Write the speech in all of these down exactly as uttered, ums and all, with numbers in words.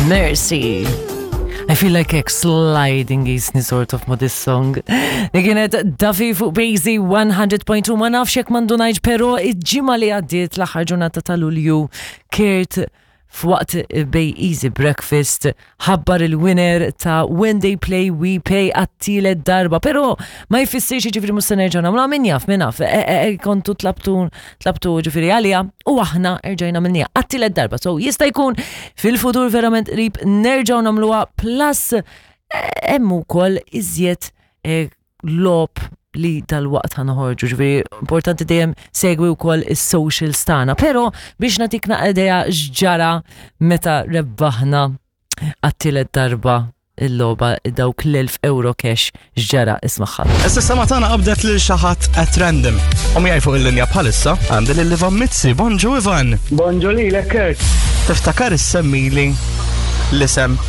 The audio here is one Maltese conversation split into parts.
Mercy. I feel like ek sliding jisni sort of ma this song. Li kienet Duffy fuq Basie one hundred point two. Ma nafx jekk mandu najġ, pero il-ġimgħa li għaddiet, l-aħħar ġurnata ta' Lulju, Kurt f'waqt Bay Easy Breakfast ħabbar il-winner ta' When They Play We Pay għat-tielet darba, pero ma jfissirx ġifieri mhux se nerġgħu nagħmlu, min jaf, min jaf, e, e, e, kontu tlabtu tlabtu ġifieri għalija u aħna erġajna għamilnieha għat-tielet darba. So jista' jkun fil-futur verament qrib nerġgħu nagħmluha, plus hemm ukoll iżjed logħob li dal-waqt ħa noħorġu, ġifieri importanti dejjem segwi wkoll is-socials tagħna. Però biex nagħtik idea x'ġara meta rebbaħna għat-tielet darba il-logħba, dawk l-elf euro cash, x'ġara, ismagħha. Issa tagħna qabdet lil xi ħadd at random. U miegħi fuq il-linja bħalissa għandi lil Ivan Mizzi. Bonġu, Ivan. Bonġu lilek, Kurt. Tiftakar issemmili l-isem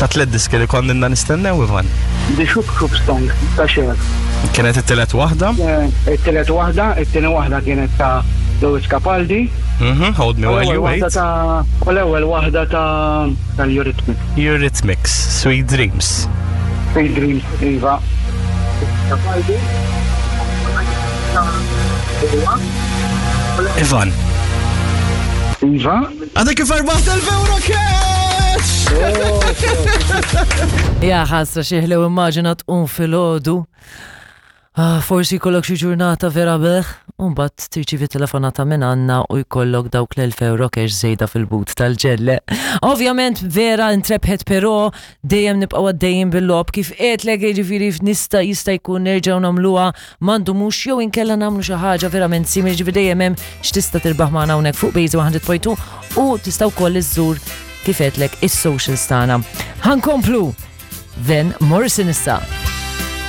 ta' tliet diski li konna nistennew, Ivan? The Shoop Shoop Song ta' Cher. Kienet it-tielet waħda? Eh, it-tielet waħda, it-tieni waħda kienet ta' Lewis Capaldi. Mhm, Hold Me While You Wait. U l-ewwel waħda ta' tal-Eurythmics. Eurythmics, Sweet Dreams. Sweet Dreams, iva. Capaldi. Ivan. Iva. Għadek kif rbaħt elf euro cash! Ja ħasra, xi ħlew, immaġina tqum filgħodu. Ah, forsi jkollok xi ġurnata vera beħ, u mbagħad tirċivi telefonata minn għandna u jkollok dawk l-elf euro cash żejda fil-but tal-ġelle. Ovvjament vera intrebħet, però dejjem nibqgħu għaddejjin bil-logħob kif għedtlek, jiġifieri nista' jista' jkun nerġgħu nagħmluha m'għandu mhux jew inkella nagħmlu xi ħaġa verament simili, ġifieri dejjem hemm x'tista' tirbaħ magħna hawnhekk fuq Bejzi one hundred point two u tista' wkoll iżżur, kif għedtlek, is-socials tagħna. Ħa nkomplu Van Morrison issa.